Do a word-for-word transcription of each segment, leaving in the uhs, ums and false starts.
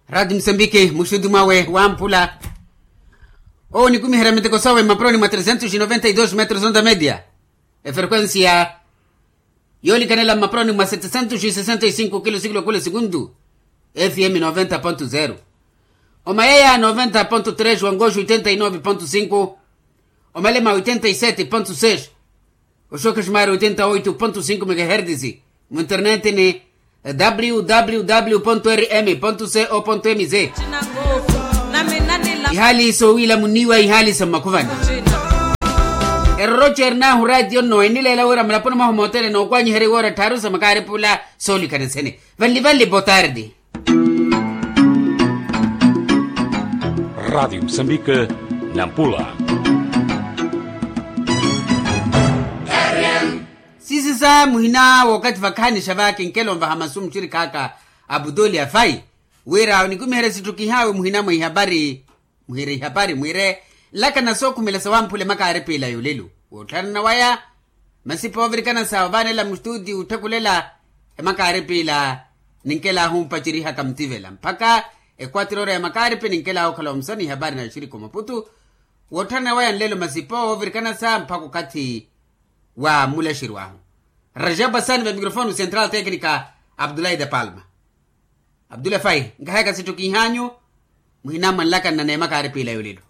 Rati musambiki muxutu mwawe wamphula. Owo nikumiherya miteko sowe mmaporoni mwa tresentos noventa y dos metros onda media. Efrequencia yoolikanela mmaporoni mwa setesentos sesenta y cinco kilo sikilo kule sikuntu. Fm noventa ponto zero, omayeya noventa ponto tres, wangoxo oitenta y nove ponto cinco, omalema oitenta y sete ponto seis, oxoke xumari oitenta oito ponto cinco megahertisi. Mu internet ni www rm co mz. Ihaali sowiila muniiwa ihaali sa mmakhuvani. Eroroci erinahu ratio nno enileela wira mulaponi mwahu mootele nookwanyiherya iwoora tthaaru sa makaaripula. Soolikana sene vanli vanli botardi. Ratio musambike, nampula. Siisisa muhina wookathi vakhaanixa va kinkelo nvaha masu muxirikhaaka, aputoli afayi wira onikumiherya sitthu kihaawe muhina mwa ihapari. Muhire ihapari mwiire nlakana sookhumela sa wamphula emakaaripila yolelo woottharana waya. Masi poovirikana sa ovaanela mustuti wutthekulela emakaaripila, ninkelaahu mpacerihaka mutivela mpakha ekwatirora ya makaaripi ninkelaahu okhala omusani ihapari na oxirikha omaputu. Woottharana waya nlelo masi poovirikana sa mpakha okathi wa mmulaxeryo ahu. Rajab asani va mikrofoni central teknika, abdulahi de palma. Abdullah fai nkahayaka sitthu kiihaanyu. Muhina mwanlakana n'emakaaripila yolelo.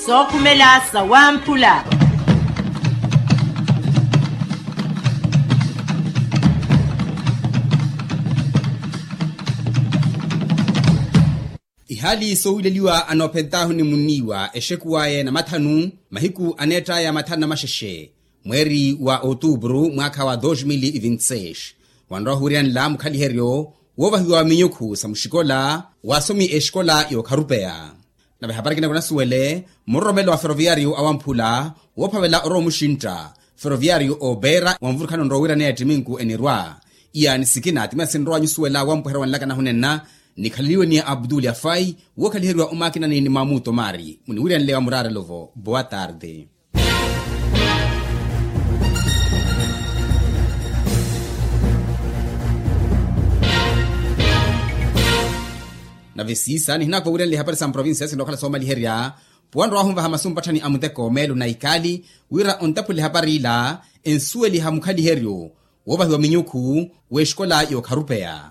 Sookhumela sa wamphula. Ihaali soowileliwa anoophentaahu ni munniiwa exekuw'aya enamathanu, mahiku aneett'aya mathanu na maxexe, mweeri wa otuupuru mwaakha wa dos mil e vinte seis, wanrowa ohuwiryanla mukhaliheryo woovahiwa wa minyukhu sa muxikola wa asomi exikola yookharupeya. Nave hapari kinako nasuwele muroromelo wa feroviyariyo awamphula woophavela orowa omuxintta feroviyariyo oopeera wa mvurukhanonro wira neya ttiminku enirwa. Iyaani sikina timira sinrowa nyusuwela wampweherya wanlakana hunenna. Nikhaleliwe ni aputuli afai wookhaliheryiwa omakinani ni mamuto mari muniwiryanle wa muraarelo-vo boa tarde. Nave siisa nihinaka owiryanle ihapari sa mprovincia sinookhala soomaliherya. Puwanrowa ahunvaha masu mpatthani a muteko meelo na ikaali wira ontaphule ehapari ila ensuweliha mukhaliheryo woovahiwa minyukhu w'exikola yookharupeya.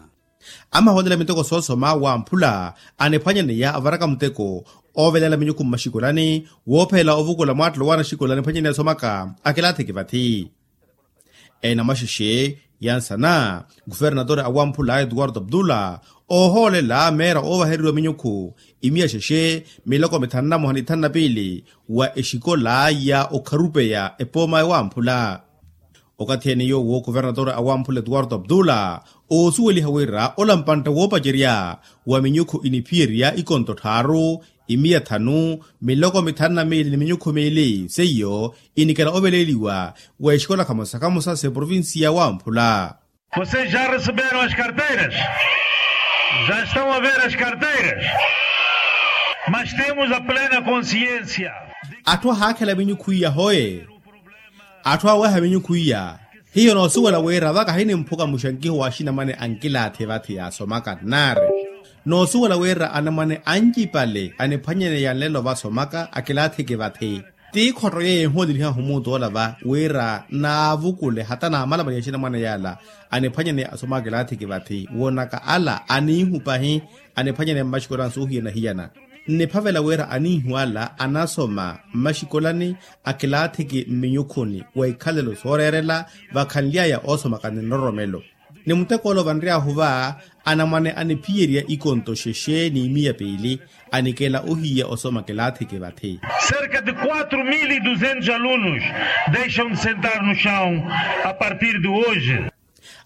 Amahoolela miteko soosoma wamphula aniphwanyaneya avaraka muteko oovelela minyukhu mmaxikolani woophelela ovukula mwaattelo w'anaxikola aniphwanyaneya asomaka akilaathiki vathi. Enamaxexe yansana kuvernatore awamphula eduwardo abdula oohoolela meera oovaheriwa minyukhu imiya xexe miloko mithanu na moha ni thanu na piili wa exikola ya okharupeya epooma ewamphula. Okathi ene yoowo kuvernatore awamphula eduwardo abdula oosuweliha wira ola mpantta woopacerya wa minyukhu iniphiyerya ikonto tthaaru imiya thanu miloko mithanu na miili ni minyukhu miili seiyo inikela oveleeliwa wa exikola khamosa khamosa s'eprovincia wamphula. Vocês já receberam as carteiras? Já estão a ver as carteiras? Mas temos a plena consciência. Atthu ahaakhela minyukhu iya hoye. Atthu aweha minyukhu iya hiyo noosuwela wira vaka hinimphuka muxankiho wa axinamwane ankilaathi vathi yaasomaka nnaari. Noosuwela wira anamwane ancipale aniphwanyaneya nlelo vasomaka akilaathiki vathi. Ti ikhotto yeeyo ehoolelihahu omuutu ola va wira naavukule hata naamalamalihe axinamwane yaala aniphwanyaneya asomaka akilaathiki vathi woonaka ala aniihupahi. Aniphwanyaneya mmaxikolani soohiyana-hiyana nniphavela wira aniihu ala anasoma mmaxikolani akilaathiki mminyukhuni wa ikhalelo sooreerela vakhanly'aya oosomaka ni nroromelo. Ni muteko ole vanry'ahu va anamwane aniphiyerya ikonto xexe n'imiya piili anikela ohiya osoma kilaathiki vathi. Cerca de quatro mil e duzentos alunos deixam de sentar no chão a partir de hoje.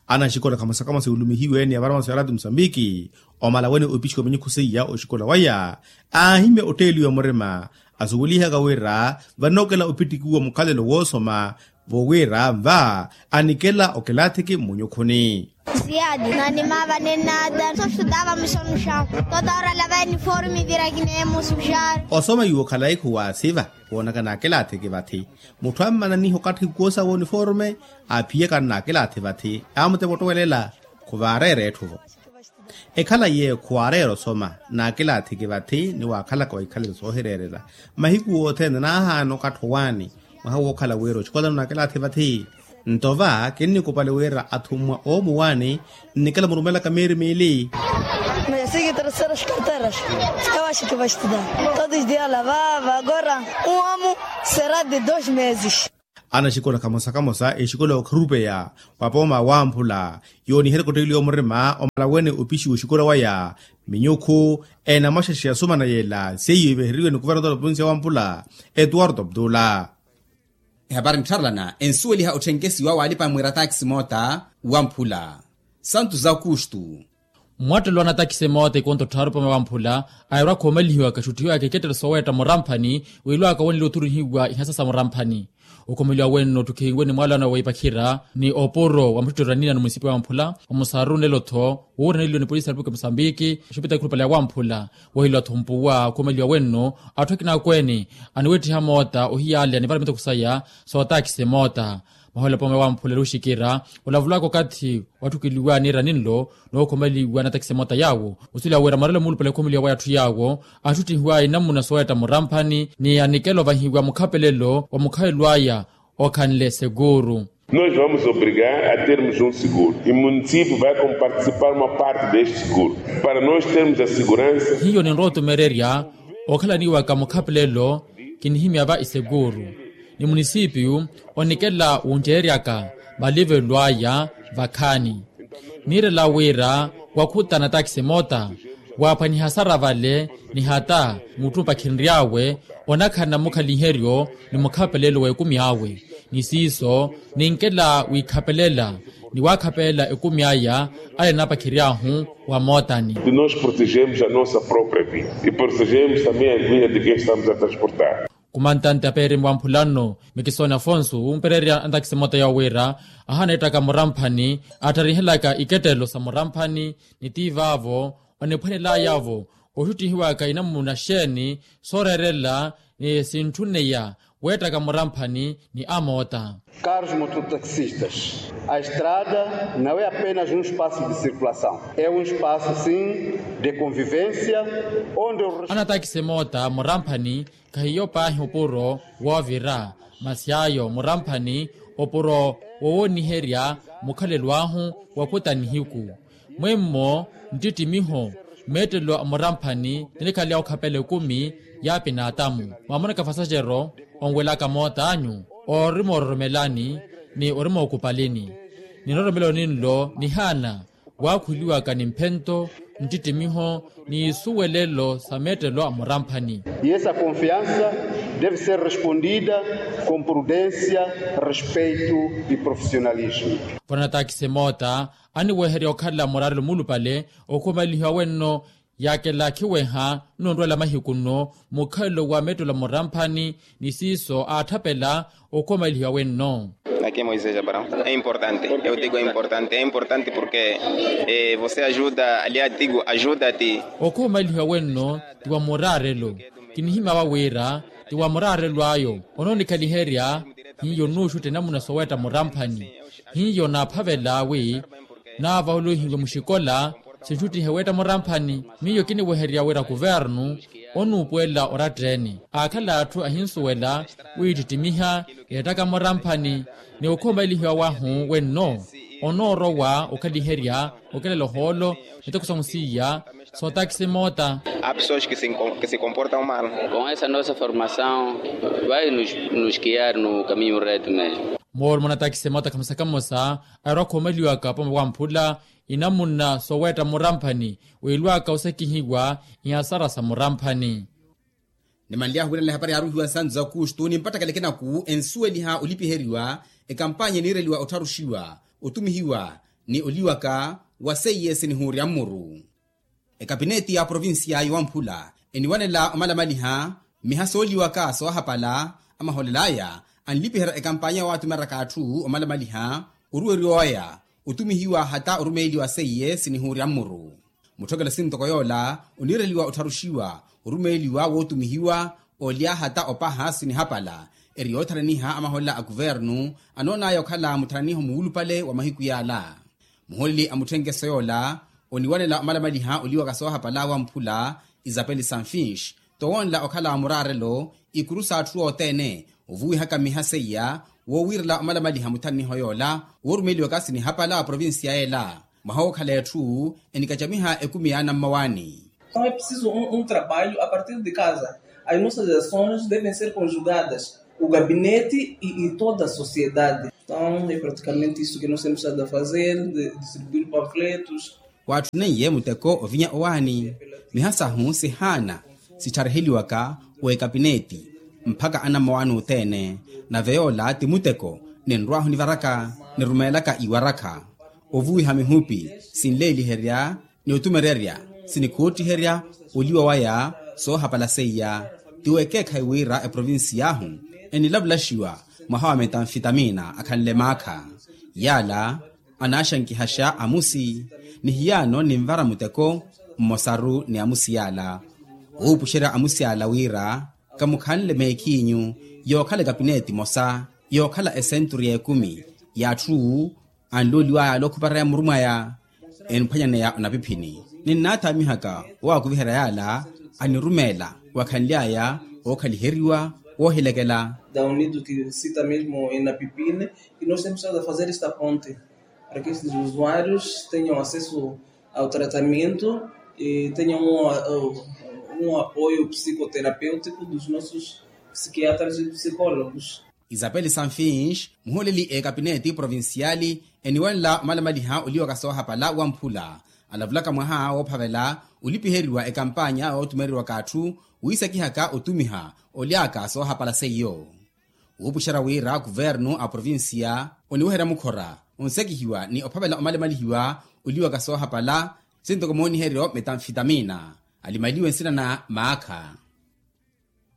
Anaxikola khamosa khamosa yuulumihiwe ni avaramaso ya rati musambiki omala wene opixiwa minyukhu seiya oxikola waya aahimya otteeliwa murima asuwelihaka wira vanookela opittikiwa mukhalelo woosoma Vowira nva anikela okilaathiki mmunyukhuni. Ziyadi nanimaava ninnaada sostudava musonuxa. Totora lava iniformi vira kineemusuxari. Osoma yuwo khalayi khuwaasiva. Woonaka naakilaathiki vathi mutthu ammananiha okathi kuwosa w'oniforme. Aphiyaka nnaakilaathi vathi amutepa ottowelela. Khuvaareera etthu-vo. Ekhala iye khuwaareera osoma naakilaathiki vathi ni waakhalaka wa ikhalelo soohireerela. Mahiku othene naahaana okathi owaani. Mwaha wookhala wira oxikolano naakilaathi vathi. Nto va kinnikupale wira athummwa oomuwaani. Nnikela murumelaka miiri miili. Mesi ki terceras carteras. Ewaxi ki vastida. Todos dia lavava agora. Um amo será de dos meses. Anaxikola kamosa kamosa exikola okhirupeya wa pooma wamphula. Yooniherya kutteeliwa omurima omala wene opixiwa oxikola waya. Minyukhu enamaxaxi asumana yela seiyo iveheriwe ni kuvernotola provincia wamphula. Etuwarto abdula. Ehapari nttharelana ensuweliha otthenke esiwa waalipa mwira taxi moota wamphula. Santu za kustu. Mwattelo anatakisi moota ikonto tthaaru pome wamphula. Airwa khoomalihiwaka exuttihiwaka ikettelo soweetta muramphani. Wiilwaka wonile othurihiwa ihasa sa muramphani. Okhoomalihiwa wenno otthukhihiwe ni mwaalano wa ipakhira ni opuro wa muttutto ranina ni munisipi wamphula. Omusaru nlelo-tho wuuraneliwe ni polisi ya repupulika musambiki. Oxupita ekhulupale ya wamphula. Wohilwa-tho mpuwa okhoomalihiwa wenno atthu akina akweene aniweettiha moota ohiyaalya ni varamita khusaya. Sootakisi moota. Mahola pome wamphula eluxikira olavulaka okathi watthukeliwa niira ninlo. Nookhomaliwa natakisi moota yaawo. Osuweliwa wira marelo muulupale okhoomaliwa waya atthu yaawo. Attuttihiwa inamuna soweetta muramphani ni anikela ovahiwa mukhapelelo wa mukhalelo aya. Okhanle seguru. Nos vamos obrigar a termos um seguro e município vai comparticipar uma parte deste seguro para nós termos a segurança. Hiyo ninrowa otumererya okhalaniwaka mukhapelelo. Kinihimya va isekuuru ni munisipiyu onikela wunceeryaka malivelo aya vakhaani. Niirela wira wakhutana takisi moota waaphwaniha sara vale ni hata mutthu opakhinry'awe onakhala na mukhaliheryo ni mukhapelelo w'ekumi awe. Ni siiso ninkela wiikhapelela ni waakhapelela ekumi aya ale naapakhiry'ahu wa mootani. Nós protegemos a nossa própria vida e protegemos também a vida de quem estamos a transportar. Kumantante apeerimi wa mphulano mikisoni afonso wumpereerya antakisi moota yoowiira ahaana ettaka muramphani attharihelaka ikettelo sa muramphani. Ni tiivaavo oniphwanelayavo oxuttihiwaka inamuna xeeni sooreerela ni sintthuneya weettaka muramphani ni amoota. Caros mototaxistas, a estrada não é apenas um espaço de circulação, é um espaço sim de convivência onde o res- Anatakisi moota muramphani khahiyo paahi opuro woovira masi ayo muramphani opuro wowooniherya mukhalelo ahu wakuta nihiku. Mwemmo nttittimiho meettelo a muramphani tinikhale okhapela ekumi ya pinaatamu. Mwamonaka fasaxero onwelaka moota anyu orimoororomelani ni orimookupalini. Ni nroromelo ninlo nihaana waakhuliwaka ni mphento nttittimiho ni isuwelelo sa meettelo a muramphani. E essa confiança deve ser respondida com prudência, respeito e profissionalismo. Vanatakisi moota aniweherya okhala muraarelo muulupale okhumalihiwa wenno yaakela khiweha nonrwela mahiku nno mukhalelo wa meettelo a muramphani ni siiso aatthapela okhumalihiwa wenno. Aqui é Moisés Abraão. É importante, eu digo é importante, é importante porque você ajuda ali a digo ajuda-te. Okhumalihiwa wenno ti wa muraarelo kinihimya wa wira ti wa muraarelo ayo onoonikhaliherya. Hiyo nuuxutta enamuna soweetta muramphani hiyo naaphavela wi naavahuluhiwe muxikola. Sinxuttihe weetta muramphani miyo kiniweherya wira kuvernu onuupuwela oratteeni aakhala atthu ahinsuwela wiittittimiha yeettaka muramphani ni okhumalihiwa wahu wenno onoorowa okhaliherya okelela ohoolo miteko sahu siiya sootakisi moota. Há pessoas que se comportam mal. Com essa nossa formação vai nos guiar no caminho reto mesmo. Moolumo natakisi moota khamosa khamosa airwa khumalihiwaka pome wamphula inamuna soweetta muramphani wiilwaka osekihiwa ihasara sa muramphani. Nimanly'ahu wiirela ehapari yaaruhiwa nsantu za kustu nimpattakela ekinaku ensuweliha olipiheriwa ekampanya eniireliwa ottharuxiwa otumihiwa ni oliwaka wa seiyesi nihuurya mmuru. Ekapineti ya provincia yowamphula eniwanela omalamaliha mmiha sooliwaka soohapala amaholel'aya anlipiherya ekampanya waatumeraka atthu omalamaliha oruweriwa waya otumihiwa hata orumeeliwa seiye sinihuurya mmuru. Mutthokelo sintoko yoola oniireliwa ottharuxiwa orumeeliwa wootumihiwa olya hata opaha sinihapala. Eri yootharaniha amaholela a kuvernu anoon'aya okhala mutharaniho muwulupale wa mahiku yaala. Muhooleli a mutthenkeso yoola oniwanela omalamaliha oliwaka soohapala wamphula isapeli sanfinx, towoonla okhala muraarelo ikuru s'atthu othene ovuwihaka miha seiya woowiirela omalamaliha mutharaniho yoola woorumeliwaka sinihapala wa provincia yeela. Mwaha wookhala etthu enikacamiha ekumi yaana mmawaani. Então é preciso um trabalho a partir de casa. As nossas ações devem ser conjugadas o gabinete e toda a sociedade. Então é praticamente isso que nós temos estado a fazer, de distribuir panfletos. Waatthuneiye muteko ovinya owaani miha sahu sihaana sithariheliwaka w'ekapineti mpakha anammawaani othene. Nave yoola ti muteko ninrw'ahu nivaraka nirumeelaka iwarakha ovuwiha mihupi sinleeliherya ni otumererya sinikhottiherya oliwa waya soohapala seiya. Ti wekeekhayi wira eprovinsiy'ahu enilavulaxiwa mwaha wa metamfitamina akhanle maakha yaala anaaxankihaxa amusi ni hiyaano ninvara muteko mmosaru ni amusi yaala. Wuupuxerya amusi yaala wira kamukhanle meekhiinyu yookhala ekapineti emosa yookhala esenturu y'ekumi y'atthu anlooliwaya yaala okhupareya muru mwaya eniphwanyaneya onapiphini. Ninnaathaamihaka owaakuviherya yaala anirumeela wakhanly'aya ookhaliheriwa woohilekela. Da unido que cita mesmo enapipine e nós temos estado a fazer esta ponte para que estes usuários tenham acesso ao tratamento e tenham um apoio psicoterapêutico dos nossos psiquiatras e psicólogos. Isapeli sanfinx muhooleli ekapineti provinciali eniwanela omalamaliha oliwaka soohapala wamphula alavulaka mwaha woophavela olipiheriwa ekampanya yootumereriwaka atthu wiisakihaka otumiha olyaka soohapala seiyo. Wuupuxerya wira kuvernu a provincia oniweherya mukhora onsekihiwa ni ophavela omalamalihiwa oliwaka soohapala sintoko mooniheryo metamfitamina alimaliwe nsina na maakha.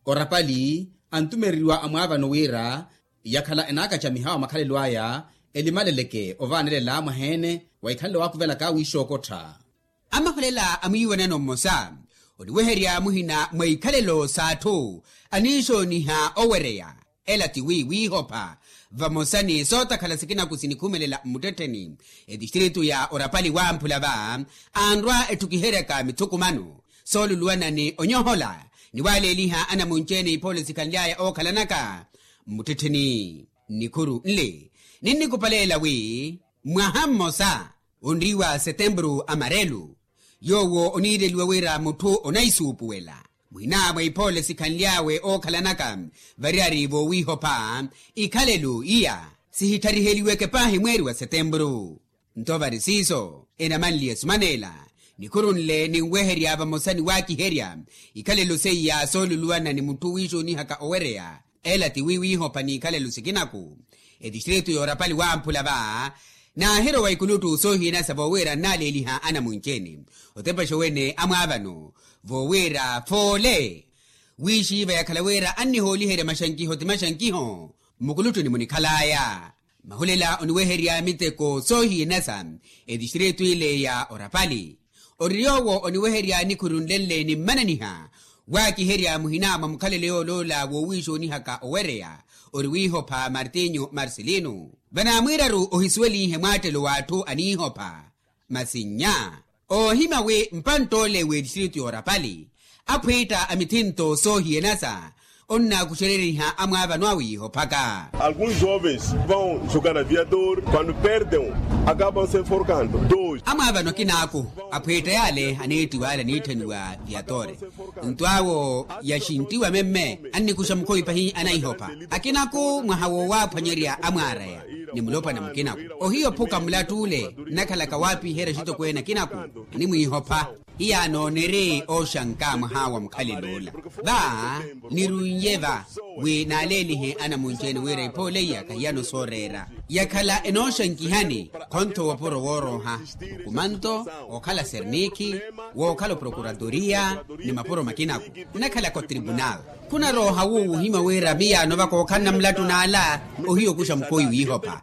Orapali antumereriwa amwaavano wira yakhala enaakacamiha wa makhalelo aya elimaleleke ovaanelela mwaheene wa ikhalelo waakuvelaka wiixookottha. Amaholela a mwiiwanano mmosa oniweherya muhina mwa ikhalelo s'atthu aniixooniha owereya ela ti wi wiihopha vamosa ni sootakhala sikinaku sinikhumelela mmuttettheni etistritu ya orapali wamphula va anrwa etthukiheryaka mithukumano sooluluwana ni onyohola ni waaleeliha anamunci-ene iphoolo sikhanly'aya ookhalanaka mmuttettheni. Nnikhuru nle ninnikupaleela wi mwaha mmosa onriiwa setempuru amarelu yoowo oniireliwa wira mutthu onaisuupuwela muhina mwa iphoole sikhanly'awe ookhalanaka variyari voowiihopha ikhalelo iya sihithariheliweke paahi mweeri wa setempuru. Nto vari siiso enamanliye esumaneela nikhuru nle ninweherya vamosa ni waakiherya ikhalelo seiya sooluluwana ni mutthu wiixoonihaka owereya ela ti wi wiihopha n'ikhalelo sikinaku etistritu y'orapali wamphula va naahirowa ikuluttu soohiyanasa voowira nnaaleeliha anamunci-ene otepexa owene amwaavano voowira foole wiixiiva yakhala wira annihooliherya maxankiho ti maxankiho mmukuluttuni munikhal'aya. Mahulela oniweherya miteko soohiyanasa etistritu ile ya orapali ori yoowo oniweherya nikhuru nle nle ni mmananiha waakiherya muhina mwa mukhalelo yooloola woowiixoonihaka owereya ori wiihopha martinyu marcelino vanaamwiiraru ohisuwelihe mwaattelo w'atthu aniihopha masi nnya oohimya wi mpantt'ole w'etistritu y'orapali aphwiitta a mithinto soohiyanasa onnaakuxereriha amwaavano awiihophaka. Alguns jovens vão jogar aviador quando perdem acabam se enforcando dois. Amwaavano akinaaku aphwiitta yaale aneettiwa ale aniitthaniwa viatore nto awo yaxinttiwa memme annikuxa mukhowi pahi anaihopha akinaku mwaha wowaaphwanyerya amwaaraya ni mulopwana mukinaku ohiyo ophuka mulatt'ule nnakhalaka waapiherya axitokweene akinaku animwiihopha. Hiyaano niri ooxanka mwaha wa mukhalelo ola. Va nirunye va wi naaleelihe anamunci-ene wira iphoole iya kahiyano sooreera. Yakhala enooxankihani khontho wopuro woorooha, okumanto, wookhala serniikhi, wookhala oprokuratoriya, ni mapuro makinaku. Nnakhalaka otribunal. Khunarooha wuwo wuhimya wira miyaano va kookhalana mulattu n'ala. Ohiya okuxa mukhoyi wiihopha.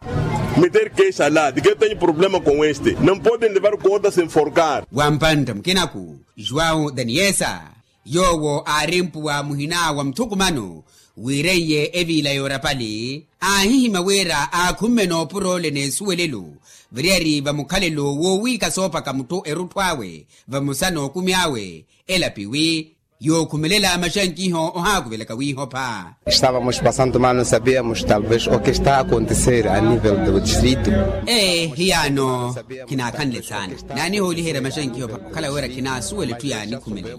Meter keixa la di ke tenho problema com este, não podem levar corda sem forcar. Wampantta mukinaku, juwau daniyesa, yoowo aari mpuwa muhina wa muthukumano wiireiye eviila y'orapali, aahihimya wira aakhumme noopuroole n'esuwelelo variyari va mukhalelo woowiika soopaka mutthu erutthu awe vamosa n'okumi awe, elapiwi yookhumelela maxankiho ohaakuvelaka wiihopha. Estávamos passando mal, não sabíamos talvez o que está a acontecer a nível do distrito. Ee hiyaano khinaakhanle saana, naanihooliherya maxankiho okhala wira khinaasuwela etthu yaanikhumelela.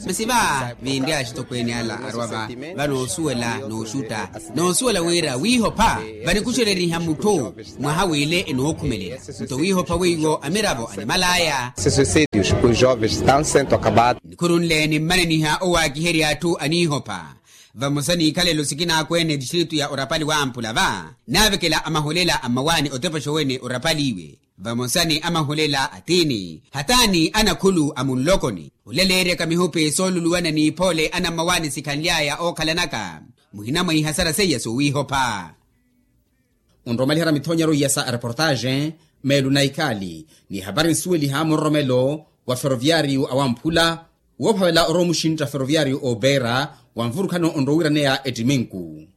Masi va vinri axitokweene ala arwa va vanoosuwela nooxutta, noosuwela wira wiihopha vanikuxereriha mutthu mwaha w'ile enookhumelela. Nto wiihopha weiwo amiravo animal'aya. Siswisírios os jovens estão sendo acabados. Nikhuru nle nimmananiha owaakiherya atthu aniihopha vamosa n'ikhalelo sikinaakwene distritu ya orapali wamphula va naavekela amaholela a mmawaani otepexa owene orapali iwe vamosa ni amaholela a tiini hataani anakhulu a munlokoni olaleeryaka mihupi sooluluwana n'iphoole anammawaani sikhanly'aya ookhalanaka. Muhina mwa ihasara seiya soowiihopha. Onromaliherya mithonyero iya sa areportaxe meelu na ikhaali ni ehapari nsuweliha muroromelo wa feroviariyu awamphula woophavela orowa omuxintta feroviariyu oopeera wa nvurukhano onrowiraneya ettiminku.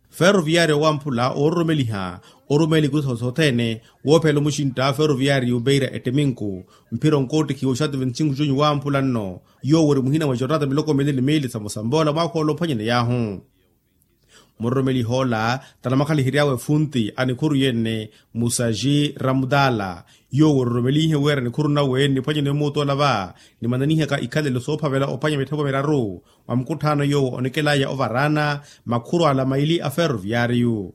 Feroviariyu awamphula oororomeliha orumeela ikuru sothene woophavela omuxintta feroviariyu oopeera ettiminku mphira onkoottikhiwa oxatu venticinco junyu wamphula nno yoowo ori muhina mwa jornata miloko mili ni miili samosambola mwaakha ola ophwanyaney'ahu. Muroromeliha ola tanamakhalihiryawe efunti a nikhuru yenne musaji ramutala yoowo ororomelihe wira nikhuru nawe niphwanyane omuutola va nimananihaka ikhalelo soophavela ophwanya mittheko miraru mwa mukutthaano yoowo onikelaya ovaraana makhuru ala maili a feroviariyu.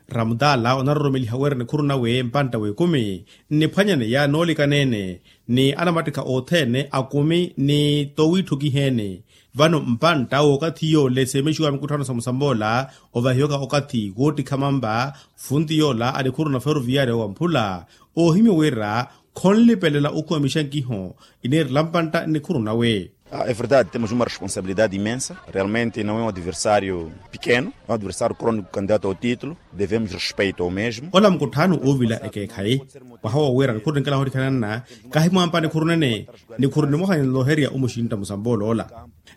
Ramutala onaroromeliha wira nikhuru nawe mpantta w'ekumi nniphwanyaneya noolikaneene ni anamattikha othene akumi ni towiitthukiheene. Vano mpantta w'okathi yoole seemexiwa mikutthaano samusamoola ovahiwaka okathi woottikha mampa funti yoola a nikhuru na feroviyaari owamphula oohimya wira khonlipelela okhuwa mixankiho iniirela mpantta nnikhuru nawe. É verdade temos uma responsabilidade imensa, realmente não é um adversário pequeno, é um adversário crónico candidato ao título. Devemos respeito ao mesmo. Ola mukutthaano uuvila ekeekhayi mwaha wowira nikhuru ninkela hootikhananna kahi mwampa nikhuru nene nikhuru nimoha ninloherya omuxintta musambooloola.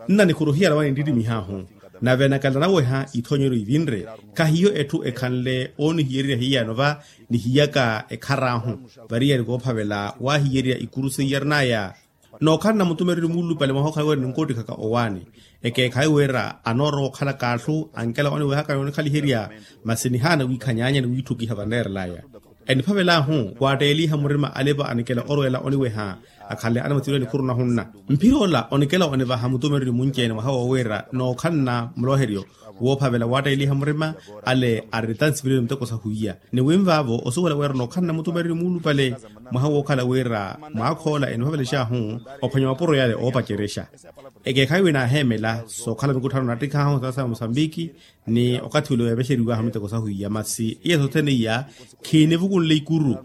Nna nikhuru hiyalawa ninttittimihahu nave nakala naweha ithoonyeryo ivinre kahiyo etthu ekhanle oonihiyererya hiyano va nihiyaka ekhar'ahu variyari koophavela waahiyererya ikuru seiyarin'aya. Nookhalana mutumereri muulupale mwaha okhala wira ninkoottikhaka owaani ekeekhayi wira anoorowa okhalaka atthu ankela oniwehaka ni onikhaliherya masi nihaana wiikhanyaanya ni wiitthukiha vaneerel'aya. Eniphavel'ahu waatteeliha murima alipa anikela orweela oniweha akhanle anamuthiwela nikhuru nahunna. Mphir'ola onikela onivaha mutumereri munci-ene mwaha wowira nookhalana muloheryo woophavela waatteeliha murima ale ari tansivireni muteko sahwiya ni winvaavo osuwela wira nookhalana mutumereri muulupale mwaha wookhala wira mwaakhoola eniphavelex'ahu ophwanya mapuro yale oopacerexa. Ekeekhayi wi naaheemela sookhala mikutthaano nattikhahu saasa ya musambiki ni okathi ule weepexeriw'ahu miteko sahwiya masi iya sothene iya khiinivukunle ikuru.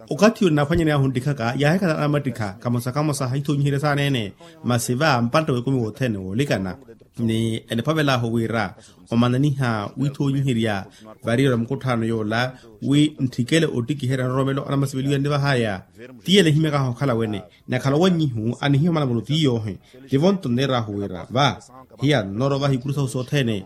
Okathi ule naaphwanyaney'ahu nttikhaka yaahikhala anamattikha kamosa kamosa hithoonyiherya saaneene masi va mpantta w'ekumi wothene woolikana ni eniphavel'ahu wira omananiha withoonyiherya variyari mukutthaano yoola wi ntthikele ottikiherya nroromelo anamasiveliwa nnivah'aya. Tiyele ehimyak'ahu okhala wene nakhala owannyihu anihimya malamulo tiyoohi. Tivo nto nneer'ahu wira va hiya nnoorowa vahi ikuru sahu sothene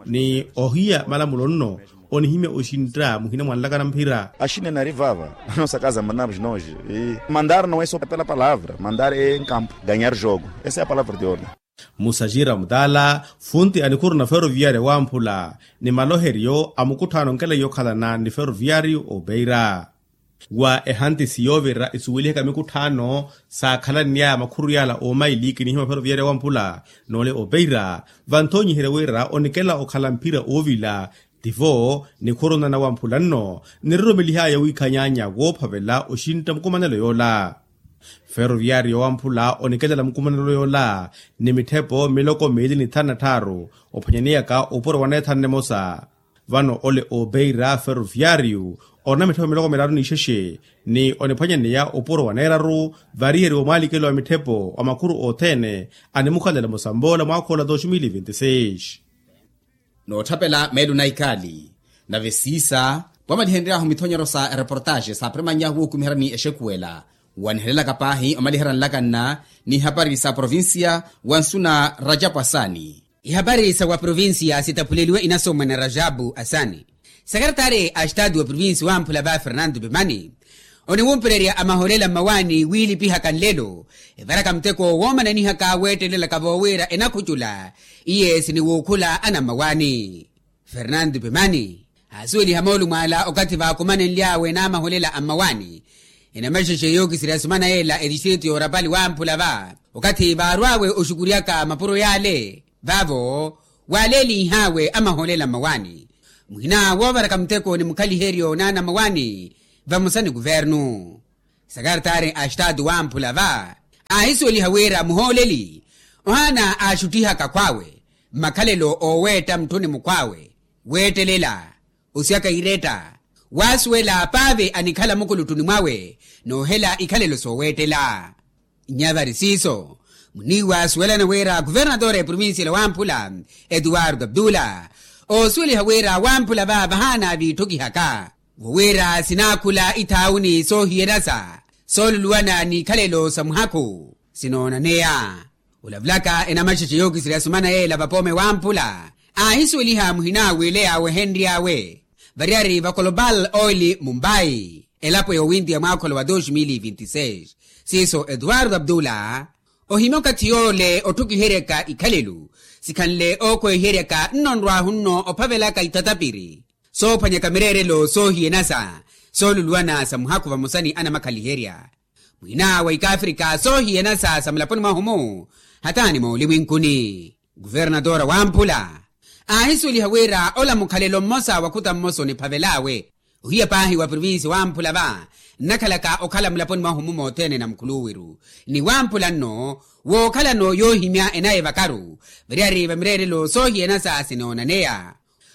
ni ohiya malamulo nno onihimya oxintta muhina mwanlakana mphira. Axinena ari vava. Anosa kaza manavos noje. Mandar no eso pela palavra mandar e nkampu ganhar jogo. Esa e a palavra de orda. Musaji ramutala funti a nikhuru na feroviyaari wamphula ni maloheryo a mukutthaano nkela yokhalana ni feroviyaari opeira. Wa ehantisi yoovira esuwelihaka mikutthaano saakhalanny'aya makhuru yaala oomaili kinihimya feroviyaari wamphula noole opeira. Vanthoonyiherya wira onikela okhala mphira oovila tivo nikhuru nana wamphula nno niroromelih'aya wiikhanyaanya woophavela oxintta mukumanelo yoola. Ferroviario wamphula onikelela mukumanelo yoola ni mitthepo miloko miili ni thanu na tthaaru, ophwanyaniyaka opuro wa neethanu nemosa. Vano ole obeira ferroviario ona mitthepo miloko miraru n'ixexe, ni oniphwanyaneya opuro wa neeraru variyeriwa omwalikelo wa mitthepo wa makhuru othene animukhalela musampoola mwaakhoola dos mil vinti seis. Nootthapela meelo na ikali. Nave siisa, wamalihenry'ahu mithonyero sa ereportaxe saapremanyahu wuukumiherya ni exekuwela, wanihelelaka paahi omaliherya nlakanna n'ihapari sa provincia, wa nsu na rajapu asani. Ihapari sa wa provincia sitaphuleliwe inasomwa na rajapu asani. Sekaretari a estatu wa provincia wamphula va fernando pemani oniwumpererya amahoolela mmawaani wiilipihaka nlelo, evaraka muteko woomananihaka weettelelaka voowira enakhucula iye siniwuukhula ana mmawaani. Fernando pemani aasuweliha moolumo ala okathi vaakumanenly'awe n'amahoolela a mmawaani. Enamaxexe yookisirya sumana yeela etistritu yoorapali wamphula va okathi vaarw'awe oxukuryaka mapuro yaale vaavo waaleeliih'awe amahoolela mmawaani. Muhina woovaraka muteko ni mukhaliheryo n'ana mmawaani vamosa ni kuvernu. Sakaratari a estatu wamphula va aahisuweliha wira muhooleli ohaana aaxuttihaka khw'awe mmakhalelo ooweetta mutthuni mukhw'awe, weettelela, osiyaka iretta, waasuwela paave anikhala mukuluttuni mwawe noohela ikhalelo sooweettela. Nyavari siiso muniiwa asuwelana wira kuvernatore provincial wamphula etuwardo abdula oosuweliha wira wamphula va vahaana viitthukihaka, wo wira sinaakhula ithaawuni soohiyanasa sooluluwana n'ikhalelo sa muhakhu sinoonaneya. Olavulaka enamaxexe yookisirya sumana yeela vapoome wamphula aahisuweliha muhina wiileya wehenry'awe variyari va kolobal oil mumbai elapo yoowintiya mwaakholo wa dos mil vinti seis. Siiso etuwardo abdula ohimya okathi yoole otthukiheryaka ikhalelo sikhanle ookwehiheryaka nno nrwaahu nno ophavelaka ithatapiri soophwanyaka mireerelo soohiyanasa sooluluwana sa muhakhu vamosa ni anamakhaliherya. Mwina wa ikafrika soohiyanasa sa mulaponi mwahu-mu hataani moolimwinkuni. Kuvernatora wamphula aahisuweliha wira ola mukhalelo mmosa wa khuta mmosa oniphavel'awe ohiya paahi wa provincia wamphula va nnakhalaka okhala mulaponi mwahu-mu mothene na mukhuluwiru ni wamphula nno wookhalano yoohimya enaye vakaru variyari va mireerelo soohiyanasa sinoonaneya.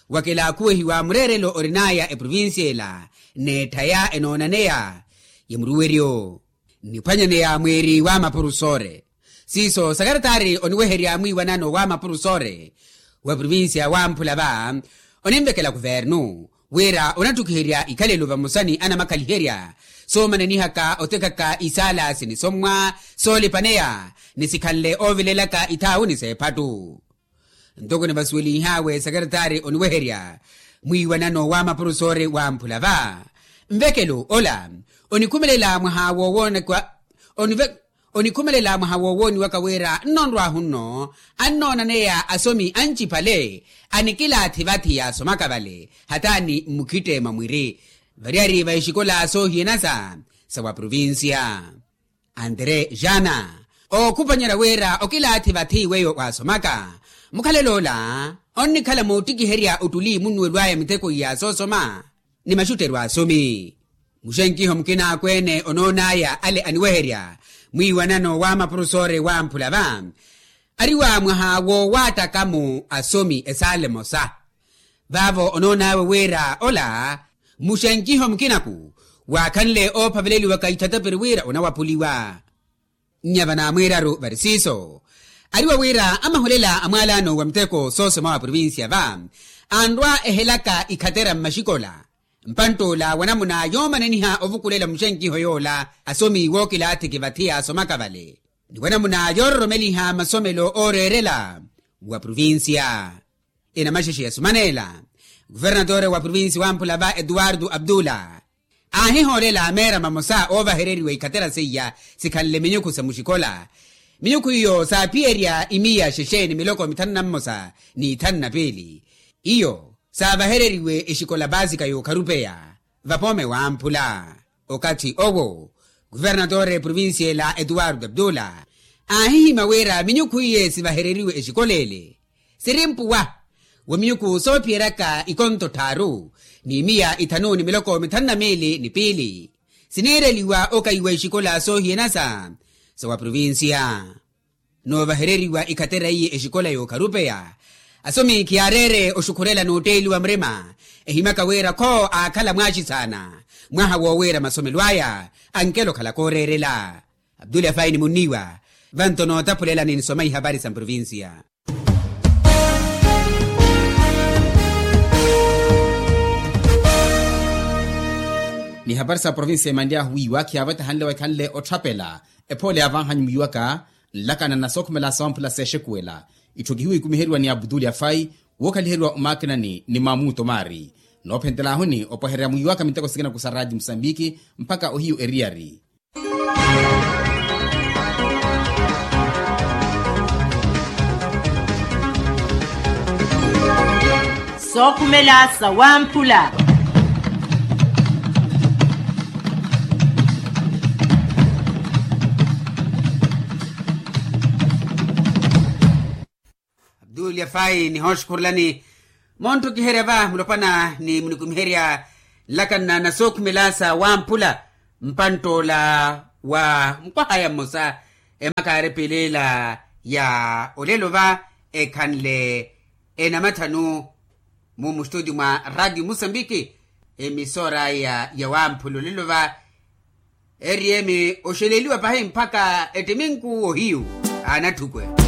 Wakilaakhuwehiwa mureerelo orin'aya eprovincia ela n'etthaya enoonaneya ya muruweryo nniphwanyaneya mwiiri wa mapurusore. Siiso sakaratari oniweherya mwiiwanano wa mapurusore wa provincia wamphula va oninvekela kuvernu wira onatthukiherya ikhalelo vamosa ni anamakhaliherya soomananihaka otekaka isaala sinisommwa soolipaneya ni sikhanle oovilelaka ithaawuni s'ephattu. Ntoko nivasuweliih'awe sakaratari oniweherya mwiiwanano wa mapurusori wamphula va nvekelo ola onikhumelela mwaha woowoniwaka wira nno nrwaahu nno annoonaneya asomi anciphale anikilaathi vathi yaasomaka vale hataani mmukhitte mwa mwiri variyari va exikola soohiyanasa sa wa provincia. Andre jana ookhuphanyerya wira okilaathi vathi weyo waasomaka mukhalelo ola onnikhala moottikiherya ottuli munnuwelo aya mitheko iya soosoma ni maxutteryo a asomi. Muxenkiho mukina akweene onoon'aya ale aniweherya mwiiwanano wa mapurusori wamphula va ariwa mwaha woowaattaka-mu asomi esaala emosa vaavo onoon'awe wira ola muxenkiho mukinaku waakhanle oophaveleliwaka ithatapiri wira onawaphuliwa. Nnya vanaamwiiraru vari siiso ariwa wira amahulela a mwaalano wa muteko soosoma wa provincia va anrwa ehelaka ikhatera mmaxikola mpantt'ola wa namuna yoomananiha ovukulela muxenkiho yoola asomi wookilaathiki vathi yaasomaka vale ni wa namuna yoororomeliha masomelo ooreerela wa provincia. Enamaxexe ya sumaneela kuvernatore wa provincia wamphula va etuwartu abdula aahihoolela meera mamosa oovahereriwa ikhatera seiya sikhanle minyukhu sa muxikola minyukhu iyo saaphiyerya imiya xexeeni miloko mithanu na mmosa ni ithanu na piili iyo saavahereriwe exikola paasika y'okharupeya vapoome wamphula. Okathi owo kuvernatore provincia ela etuwartu abdula aahihimya wira minyukhu iye sivahereriwe exikola ele siri mpuwa wa minyukhu soophiyeryaka ikonto tthaaru ni miya ithanu ni miloko mithanu na miili ni piili siniireliwa okaiwa exikola soohiyana sa sa wa provincia. Noovahereriwa ikhatera iye exikola y'okharupeya, asomi khiyaareere oxukhurela n'utteeliwa murima. Ehimyaka wira kho aakhala mwaaxisaana mwaha woowiira masomelo aya ankela okhala kooreerela. Abdul afai ni munniiwa vanto nootaphulelani nisoma ihapari sa mprovincia. Ni hapari sa provincia emanly'ahu wiiwa khiyavetahanle wa ekhanle otthapela. Ephoole yaavanhanyu mwiiwaka nlakana na sookhumela sawamphula seexekuwela. Itthu kihiwikumiheriwa ni abdul afai wookhaliheriwa omaakinani ni mamuto maari. Noophentelahuni opwehererya mwiiwaka miteko sikina ku sa raati musambiki mpakha ohiyu eriyari. Sookhumela sawamphula. Abdul yafai nihooxukhurelani montho kiherya va mulopwana ni munikumiherya nlakana na sookhumela sa wamphula. Mpantt'ola wa mukwaha ya mmosa emaka yaarepeleela ya olelo va ekhanle enamathanu mu mustutio mwa radio musambiki. Emisora ya wamphula olelo va eriyemi oxeleliwa pahi mpakha ettiminku ohiyu anatthukwe.